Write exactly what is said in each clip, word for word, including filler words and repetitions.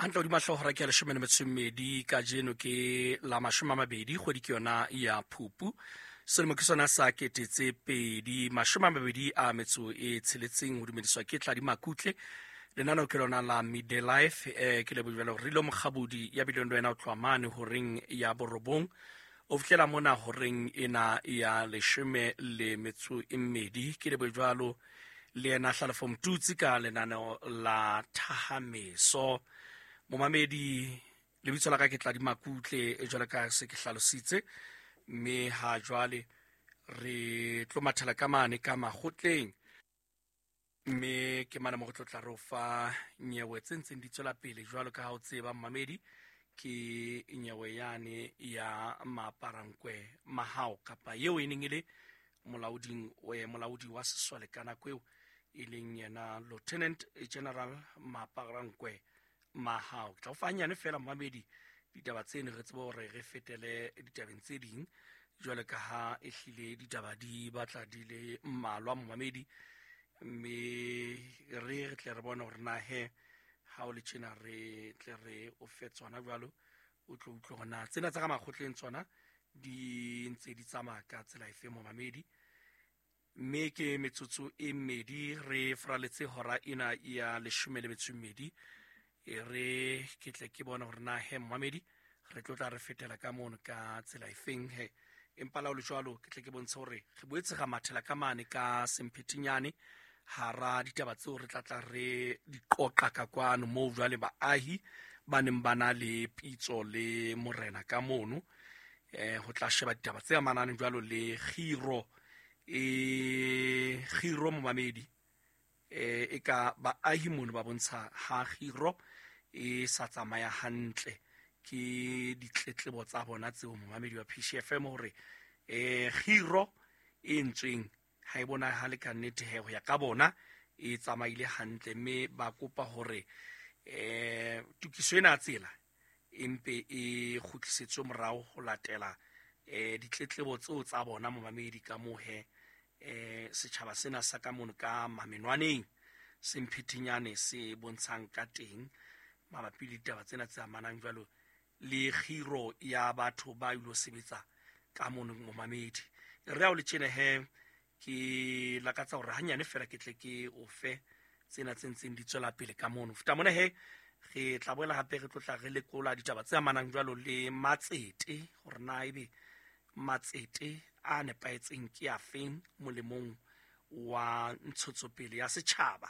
Hantle hodima hlooho hora ke ya leshome le metso e mmedi kajeno ke la mashome a mabedi kgwedi ke yona ya Phupu. Selemo ke sona sa kete tse pedi mashome a mabedi a metso e tsheletseng ho dumediswa ke Tladi Makutle. Lenaneo ke lona la Midday Life, eh, ke lebohile hore Rilo Mokgabudi ya bileng le wena o tloha mane horeng ya borobong o fihlela mona horeng ena ya leshome le metso e mmedi. Ke lebohe jwalo le yena Hlalefo Mtutsi ka lenaneo la Thahameso. Momamedi, lebitso la ka ke Tladi Makutle, e jwalo ka se ke hlalositse, mme ha jwale re tlo mathela ka mane ka makgotleng, mme ke mane mo re tlo tla re o fa nyewe tse ntseng di tswela pele jwalo ka ha o tseba momamedi, ke nyewe yane ya Maaparankwe Mahao kapa eo e neng e le molaoding, eh, molaodi wa sesole ka nako eo e leng yena Lieutenant General Maaparankwe Mahao. Ke tla o fa hanyane fela momamedi ditaba tseno re tsebe hore re fetele ditabeng tse ding jwalo ka ha ehlile ditaba di batla di le mmalwa momamedi, mme re re tle re bone hore na he ha o le tjena re tle re o fe tsona jwalo, o tlo utlwe hore na tsena tsa ka makgotleng tsona di ntse di tsamaya ka tsela efe momamedi. Mme ke metsotso e mmedi re fraletse hora ena ya leshome le metso e mmedi, e re ke tle ke bone hore na he momamedi re tlo tla re fetela ka mono ka tsela efeng he. Empa la ho le jwalo ke tle ke bontshe hore re boetse ra mathela ka mane ka semphethinyane hara ditaba tseo re tla tla re di qoqa ka kwano moo jwale baahi ba neng ba na le pitso le morena ka mono, eh, ho tla sheba ditaba tse amanang jwalo le kgiro, e kgiro momamedi, eh, e ka baahi mono ba bontsha ha kgiro e sa tsamaya hantle. Ke ditletlebo tsa bona tseo momamedi wa P C F M hore, eh, kgiro e ntsweng ha e bonahale ka nnete he ho ya ka bona e tsamaile hantle, mme ba kopa hore, eh, tokiso ena ya tsela e mpe e kgutlisetswe morao ho latela, eh, ditletlebo tseo tsa bona momamedi ka moo he, eh, setjhaba sena sa ka mono ka mamenwaneng semphethinyane se bontshang ka teng mabapi le ditaba tsena tse amanang jwalo le kgiro ya batho ba ilo sebetsa ka mono momamedi. Re ha o le tjena he, ke lakatsa hore hanyane fela ke tle ke o fe tsena tse ntseng di tswela pele ka mono. Feta mona he, re tla boela hape re tlo tla re lekola ditaba tse amanang jwalo le matsete, hore na ebe matsete a nepahetseng ke a feng molemong wa ntshetsopele ya setjhaba,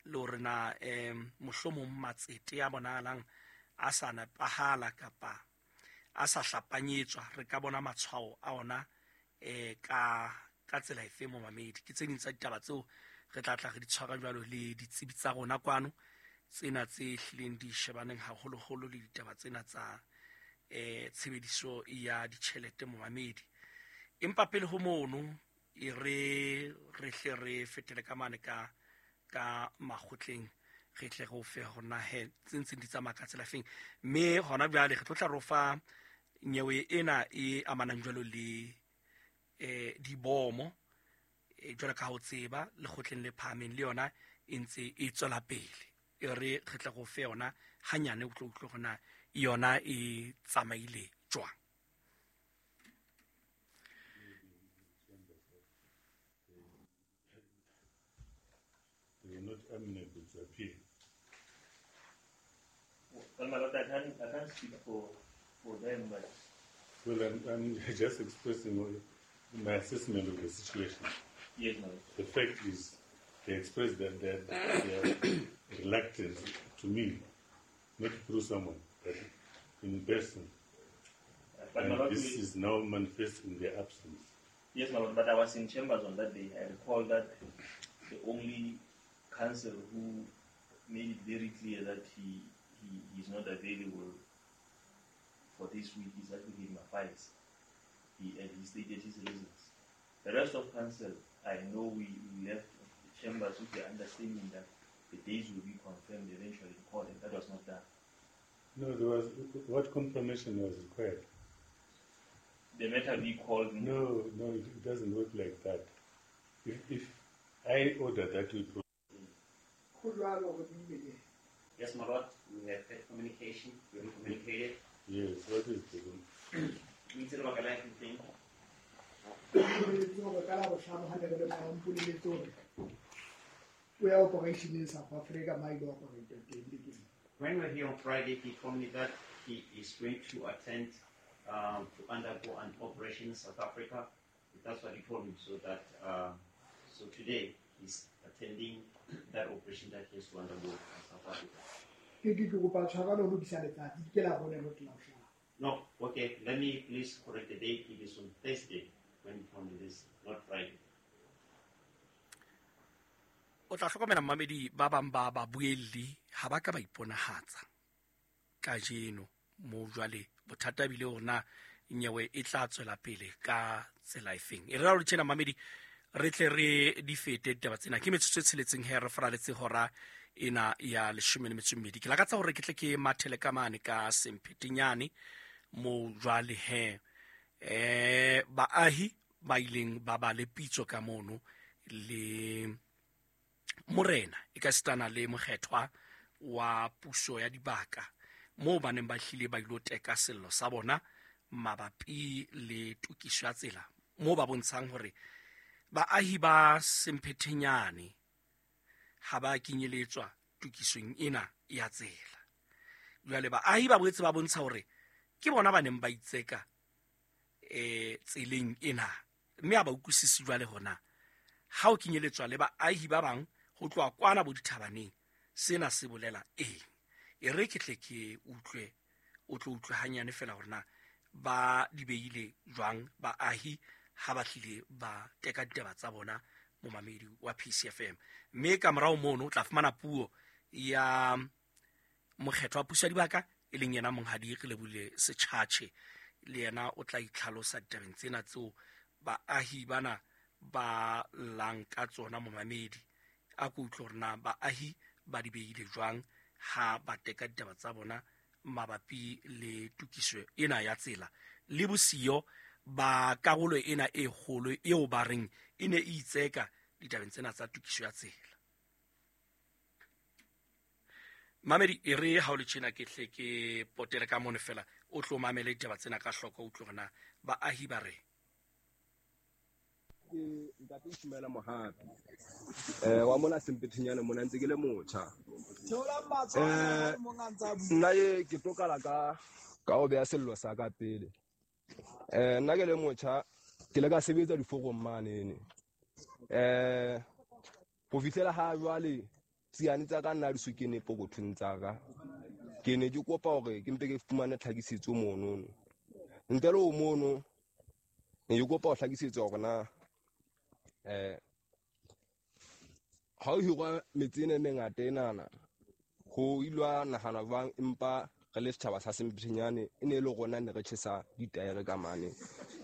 le hore na, eh, mohlomong matsete a bonahalang a sa nepahala kapa a sa hlapanyetswa, re ka bona matshwao a ona, eh, ka, ka tsela efe momamedi. Ke tse ding tsa ditaba tseo re tla tla re di tshwara jwalo le ditsebi tsa rona kwano, tsena tse hlileng di shebaneng haholoholo le ditaba tsena tsa, eh, tshebediso ya ditjhelete momamedi. Empa pele ho mono e re re hle re fetele ka mane ka, ka makgotleng, re tle re o fe hore na he tse ntseng di tsamaya ka tsela feng. Mme hona jwale re tlo tla re o fa nyewe ena e amanang jwalo le, eh, dibomo, eh, jwalo ka ha o tseba lekgotleng le phahameng le yona e ntse e tswela pele. E re re tla go fe yona hanyane o tlo utlwe hore na yona e tsamaile jwang. They were not amenable to appear. Well, my lord, I can't, I can't speak for, for them, but Well, I'm, I'm just expressing my assessment of the situation. Yes, my lord. The fact is, they expressed that they are reluctant to me, not through someone, but in person. But my And lord, this we is now manifest in their absence. Yes, my lord, but I was in chambers on that day. I recall that the only counsel who made it very clear that he, he is not available for this week is Advocate Mafiles. He, and he stated his reasons. The rest of counsel, I know we, we left the chambers with the understanding that the days will be confirmed eventually in court, and that was not done. No, there was, what confirmation was required? The matter be called. No, no, it, it doesn't work like that. If, if I order that we pro- Yes, my lord, we have heard from communication? You haven't communicated? Yes, what is the O itse lebaka la eng? Boleletse hore ka Labohlano ha ne re le mona o mpoleletse hore o ya operation in South Africa ma ile operate teng bekeng. When we were here on Friday, he told me that he is going to attend um, to undergo an operation in South Africa. That's what he told me. So that uh, so today he's attending that operation that he has to undergo in South Africa. Ke ke ke kopa tshwarelo ho lokisa letsatsi ke Labone not Labohlano. No, okay. Let me please correct the date. It is on Thursday when he told me this, not Friday. O tla hlokomela mmamedi ba bang ba babuelli ha ba ka ba iponahatsa kajeno mo jwale bothata bile hore na nyewe e tla tswela pele ka tsela efeng. E re ra hore tjena mmamedi re tle re di fete ditaba tsena ke metsotso e tsheletseng he re faraletse hora ena ya leshome le metso e mmedi. Ke lakatsa hore ke tle ke mathele ka mane ka Semphetenyane mo jwale he eh baahi ba ileng ba ba le pitso ka mono le morena e ka sitana le mokgethwa wa puso ya dibaka moo ba neng ba hlile ba ilo teka sello sa bona mabapi le tokiso ya tsela moo ba bontshang hore baahi ba Semphetenyane ha ba kenyeletswa tokisong ena ya tsela. Jwale baahi ba boetse ba bontsha hore ke bona ba neng ba itseka eh tseleng ena mme ha ba utlwisisi jwale hona ha o kenyeletswa le baahi ba bang ho tloha kwana bo dithabaneng sena se bolela eng. E re ke tle ke utlwe o tlo utlwe hanyane fela hore na ba di beile jwang baahi ha ba hlile ba teka ditaba tsa bona momamedi wa P C F M. Mme ka morao mono o tla fumana puo ya mokgetho wa puso ya dibaka e leng yena monghadi Relebule Setjhatjhe, le yena o tla itlhalosa ditabeng tsena tseo baahi bana ba llang ka tsona momamedi. A ko utlwe hore na baahi ba di beile jwang ha ba teka ditaba tsa bona mabapi le tokiso ena ya tsela le bosiyo ba karolo ena e kgolo eo ba reng e ne e itseka ditabeng tsena tsa tokiso ya tsela. Mamedi e re ha o le tjena ke hle ke potele ka mono fela o tlo mamele ditaba tsena ka hloko o utlwe hore na baahi ba reng. Ke ntate Ishmael Mohapi eh wa mona Semphetenyane mona ntse ke le motjha. Eh nna ye ke tlo qala ka ka ho beha sello sa ka pele. Eh nna ke le motjha ke le ka sebetsa diforong mane ne. Eh ho fihlela ha jwale tsiane tsa ka nna di so kene pokothong tsa ka. Ke ne ke kopa hore ke mpe ke fumane tlhakisetso mono. Ntle le ho mono ne ke kopa ho hlakisetsa hore na eh ha o hirwa metse ena e mengata enana ho ilwa nahana jwang empa re le setjhaba sa Semphetenyane e ne e le rona ne re tjhesa ditaere ka mane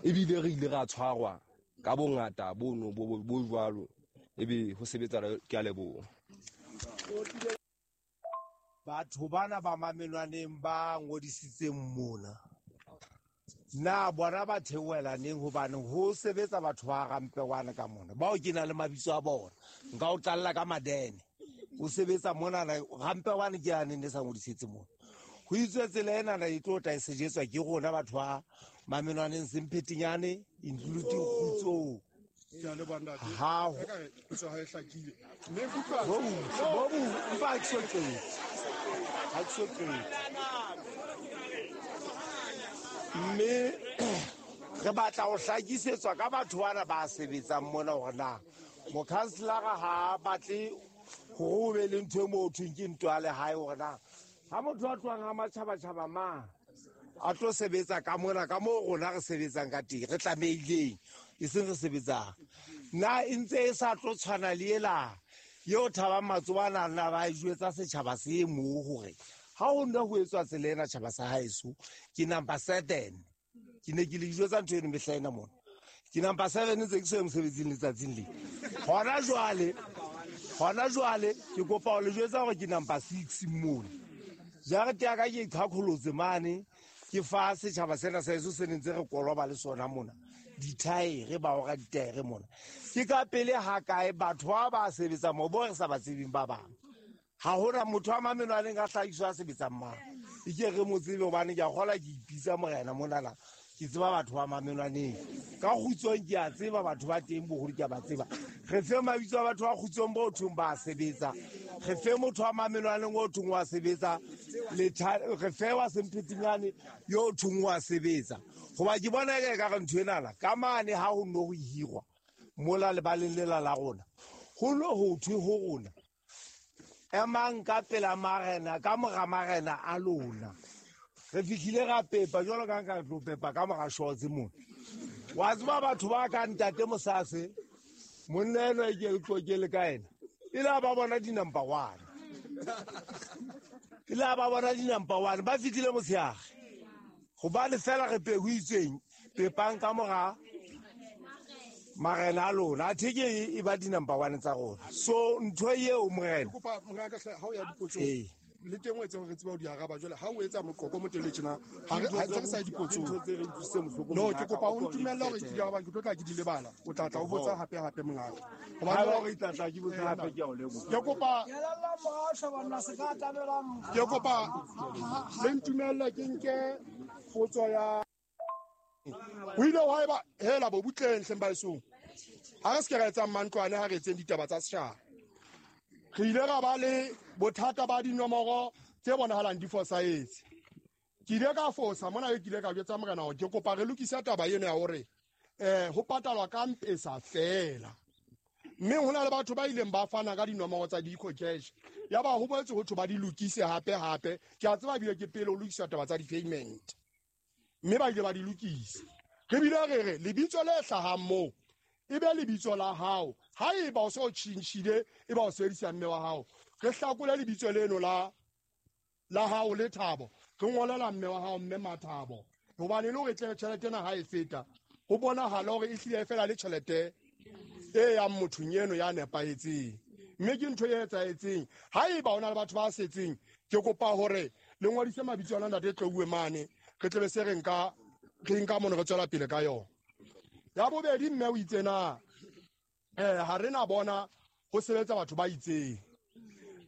ebile re ile ra tshwarwa ka bongata bono bo bo jwalo ebe ho sebetsa ke a leboha. Batho bana ba mamelwaneng ba ngodisitseng mona na bona ba theohela neng hobane ho sebetsa batho ba Rampewana ka mona bao ke na le mabitso a bona nka o tlalla ka Madene o sebetsa mona Rampewana ke yane ne sa ngodisitse mona ho itswe tsela ena na e tlo tla e sejetswa ke rona batho ba mamelwaneng Semphetenyane including Kgutsong ha bo bo ba ke so qete ha ke so qete mme re batla ho hlakisetswa ka batho bana ba sebetsang mona hore na mokhanselara ha batle hore o be le ntho e mo thweng ke ntwa ya lehae hore na ha motho a tlohang ha matjhabatjhaba ma a tlo sebetsa ka mona ka moo rona re sebetsang ka teng re tlamehileng e seng re sebetsang na e ntse e sa tlo tshwana le ela eo Thabang Matsobana nna ba e jwetsa setjhaba se moo hore ha ho nna ho etswa tsela ena tjhaba sa haeso ke number seven ke ne ke le jwetsa ntho eno mehla ena mona ke number seven ntse ke so mosebetsing letsatsing le hona jwale hona jwale ke kopa ho le jwetsa hore ke number six mona jarete ya ka ke iqhaqholotse mane ke fa setjhaba sena sa heso se ne ntse re koloba le sona mona dithaere ba ora ditaere mona ke ka pele ha kae batho ba ba sebetsang mo bo re sa ba tsebeng ba bang ha hona motho wa mamenwaneng a hlahiswa a sebetsang mang E ke re mo tsebe hobane ke a kgola ke ipitsa morena monana. Ke tseba batho ba Mamenwaneng. Ka Kgutsong ke a tseba batho ba teng boholo ke a ba tseba. Re fe mabitso a batho ba Kgutsong bo thong ba sebetsa. Re fe motho wa Mamenwaneng o thong wa sebetsa. Le re fe wa Semphetinyane yo thong wa sebetsa. Hoba ke bona e ka re ntho enana ka mane ha ho no ho hirwa mola lebaleng lela la rona. Ho no ho thwe ho rona. Emang ka pela marena ka mora marena a lona. Re fihlile ra pepa jwalo ka nka tlo pepa ka mora shotse mona. Wa tseba batho ba ka ntate Mosase monna eno e ke tlo le ka ena. Ile ba bona di number one. Ile ba bona di number one ba fihlile motshehare. Hobane fela re pehuitsweng pepang ka mora marena a lona a theke e ba di number one tsa rona. So ntho eo morena. Kopa morena ka ha o ya dipotsong. Le teng o etse hore re tsebe ho di araba jwale ha o etsa moqoqo mo tele tjena ha re ha re sa dipotsong. No ke kopa o ntumelle hore ke di araba ke tlo tla ke di lebala. O tla tla o botsa hape hape mongaka. Hobane hore tla tla ke botsa hape ke a o leboha. Ke kopa ke kopa le ntumelle ke nke potso ya o ile wa eba hela bo butleng hleng ba esong. Ha re se ke ra etsang mantlwane ha re etseng ditaba tsa setjhaba. Re ile ra ba le bothata ba dinomoro tse bonahalang di fosahetse. Ke ile ka fosa mona ke ile ka jwetsa morena hore ke kopa re lokise taba eno ya hore eh ho patalwa ka Mpesa fela. Mme ho na le batho ba ileng ba fana ka dinomoro tsa di-eco cash. Ya ba ho boetse ho thwe ba di lokise hape hape. Ke a tseba ebile ke pele ho lokisa taba tsa di-payment. Mme ba ile ba di lokisa. Re bile re re lebitso le hlahang moo e be lebitso la hao. Ha eba o so tjhentjhile e ba o sebedisa mme wa hao. Re hlakole lebitso leno la la hao le Thabo. Re ngolela mme wa hao mme Mathabo. Hobane le hore tle tjhelete ena ha e feta ho bonahala hore e hlile fela le tjhelete e yang mothong eno ya nepahetseng. Mme ke ntho e etsahetseng. Ha eba o na le batho ba setseng ke kopa hore le ngodise mabitso a ntate Tlouwe mane re tle be se re nka re nka mono re tswela pele ka yona. Ya bobedi mme o itse na eh ha re na bona ho sebetsa batho ba itseng.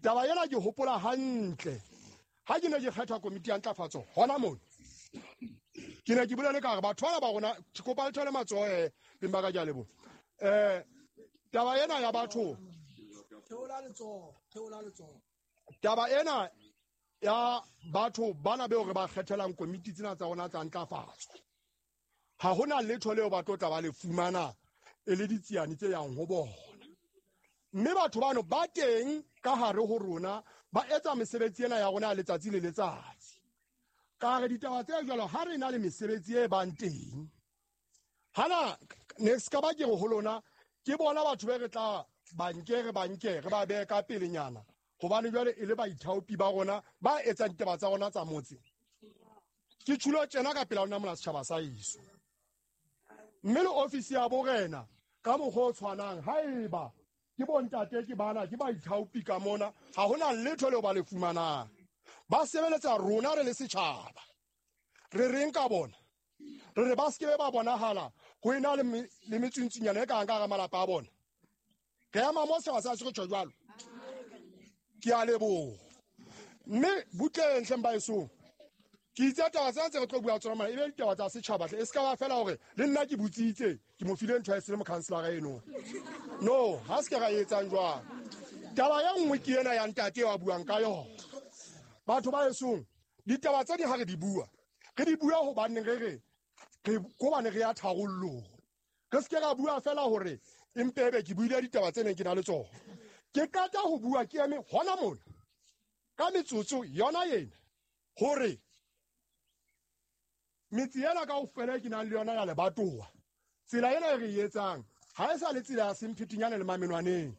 Taba ena ke hopola hantle. Ha ke ne ke kgetha komiti ya ntlafatso hona mona. Ke ne ke bolele ka hore batho bana ba rona ke kopa le thole matsoho eh beng ba ka ke a leboha. Eh taba ena ya batho theola letsoho theola letsoho. Taba ena ya batho bana beo re ba kgethelang komiti tsena tsa rona tsa ntlafatso. Ha hona letho leo ba tlo tla ba le fumana e le ditsiane tse yang ho bona. Mme batho bano ba teng ka hare ho rona ba etsa mesebetsi ena ya rona ya letsatsi le letsatsi. Ka re ditaba tse jwalo ha re na le mesebetsi e bang teng. Hana ne ska ba ke re ho lona ke bona batho be re tla banke re banke re ba behe ka pelenyana hobane jwale e le baithaopi ba rona ba etsang ditaba tsa rona tsa motse. Ke tjhulo tjena ka pela lona mona setjhaba sa heso. Mme le ofisi ya borena ka mokgwa o tshwanang haeba ke bontate ke bana ke baithaopi ka mona ha hona letho leo ba le fumanang. Ba sebeletsa rona re le setjhaba. Re reng ka bona? Re re ba se ke ba bonahala ho ena le le metsuntsunyana e ka ka malapa a bona. Re ema mo setjhaba sa se tjho jwalo. Ke a leboha. Mme butleng hleng ba esong. Ke itse taba tsena tse re tlo bua tsona mona e be ditaba tsa setjhaba hle e se ka ba fela hore le nna ke botsitse ke mo file ntho ya se le mokhanselara eno. No, ha se ke ra etsang jwang. Taba ya nngwe ke ena ya ntate wa buang ka yona. Batho ba esong ditaba tse di ha re di bua. Re di bua hobane re re re kobane re ya tharollong. Re se ke ra bua fela hore empe ebe ke buile ditaba tse neng ke na le tsona. Ke qeta ho bua ke eme hona mona ka metsotso yona ena hore metse ena kaofela e ke nang le yona ya lebatowa tsela ena e re e etsang ha e sa le tsela ya Semphetinyane le Mamenwaneng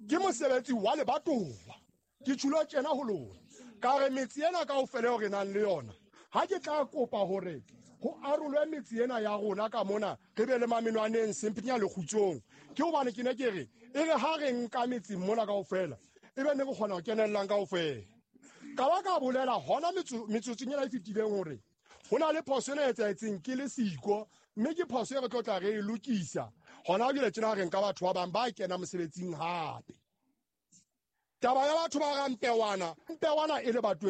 ke mosebetsi wa lebatowa. Ke tjhulo tjena ho lona ka re metse ena kaofela eo re nang le yona ha ke tla kopa hore ho arolwe metse ena ya rona ka mona re be le Mamenwaneng Semphetinyane le Kgutsong ke hobane ke ne ke re e re ha re nka metse mona kaofela e be ne re kgona ho kenellang kaofela. Ka ba ka bolela hona metsotsong ena e fetileng hore ho na le phoso ena e etsahetseng ke le siko mme ke phoso e re tlo tla re e lokisa hona jwale tjena re nka batho ba bang ba kena mosebetsing hape. Taba ya batho ba ra Mpewana, Mpewana e le batho